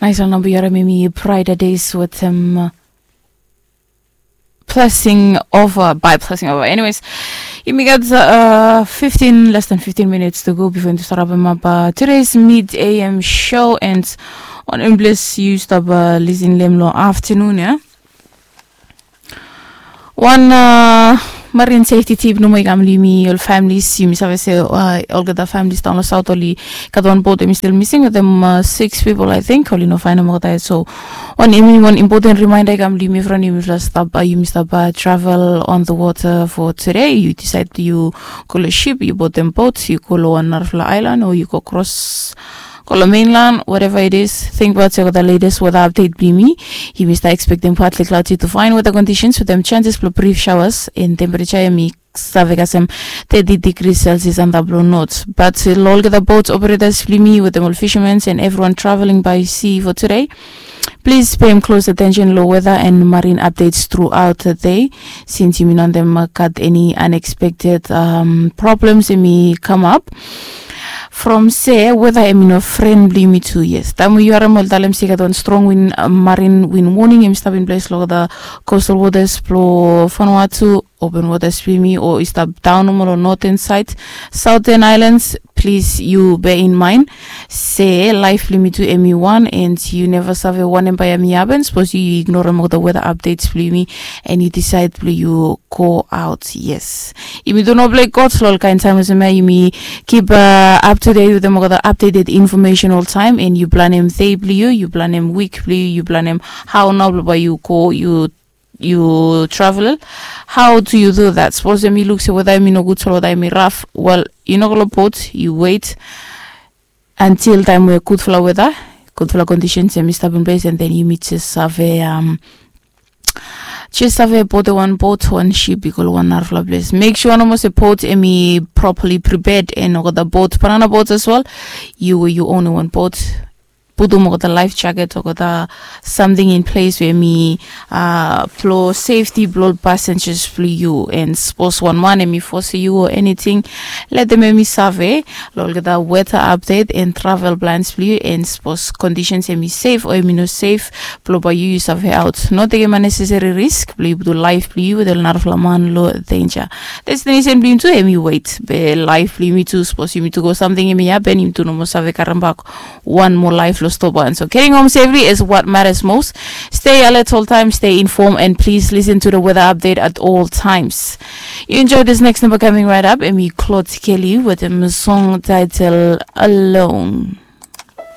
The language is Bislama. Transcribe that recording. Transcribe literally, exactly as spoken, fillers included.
Nice one, number yara mimi Pride Days with him. Blessing over by blessing over. Anyways, yumi gat uh, fifteen, less than fifteen minutes to go before yumi start wrap up uh, today's mid A M show, and on English you stop uh, listen lem lo afternoon, yeah. Wan uh, marine safety tip nomo i kam long yumi ol families. Yumi save se uh, olgeta families daon lo south oli gat wan boat, yumi still missing with them uh, six people, I think, oli no faindaot olgeta. So wan, yumi wan important reminder i kam long yumi from yumi stap uh, yumi stap uh, travel on the water for today. You decide you go lo ship, you bought them boats, you go lo wan narafala island, or you go cross go lo mainland, whatever it is. Think about se olgeta latest weather update blong yumi. Yumi stap expecting partly cloudy to fine weather conditions with them chances blong brief showers. In temperature yumi save kasem thirty degrees Celsius antap lo north. But uh, lo olgeta boat operators blong yumi with them all fishermen and everyone traveling by sea for today, please pay him close attention lo weather and marine updates throughout the day, since yumi no wantem uh, gat any unexpected um, problems yumi come up. From se weather yumi no friend blong yumi tu. Yes, taem we yu harem ol talem se i gat wan strong wind uh, marine wind warning yumi stap in place lo the coastal waters blo Vanuatu, open waters blong yumi, o i stap daon nomo lo northern side, southern islands, please you bear in mind se life blong yumi tu yumi wan, and you never save wanem bae yumi happen. Suppose you ignore olgeta weather updates blong yumi and you decide blong you go out. Yes, yumi tu no blame God lo ol kaen taem olsem ya. Yumi keep uh, up to date with them olgeta updated information all time, and you blanem day blong you, you blanem week blong you, you blanem how nao blong bae you go, you you travel. How do you do that? Suppose yumi luk se weather yumi no gud, so weather yumi rough. Well, you no go lo boat, you wait until taem we gudfala weather, gudfala conditions yumi stap in place, and then yumi just save um, just save boat wan boat, wan ship i go lo wan narafala place. Make sure nomo se boat yumi properly prepared and olgeta boat, banana boats as well. You you own wan boat, putum olgeta life jacket, olgeta something in place we yumi uh, blo safety blo passengers blong you. And suppose wan man yumi force you or anything, letem yumi save lo olgeta weather update and travel plans blong you, and suppose conditions yumi safe o yumi no safe, blo bae you you save out. No tekem unnecessary risk blong you putum life blong you with ol narafala man lo danger. Destination blong yumi tu yumi wait, be life blong yumi tu, suppose yumi tu go something yumi happen, yumi tu nomo save karem bak wan moa life lo stop wan. So getting home safely is what matters most. Stay alert all time, stay informed, and please listen to the weather update at all times. You enjoy this next number coming right up, yumi Claude Kelly with a song title Alone.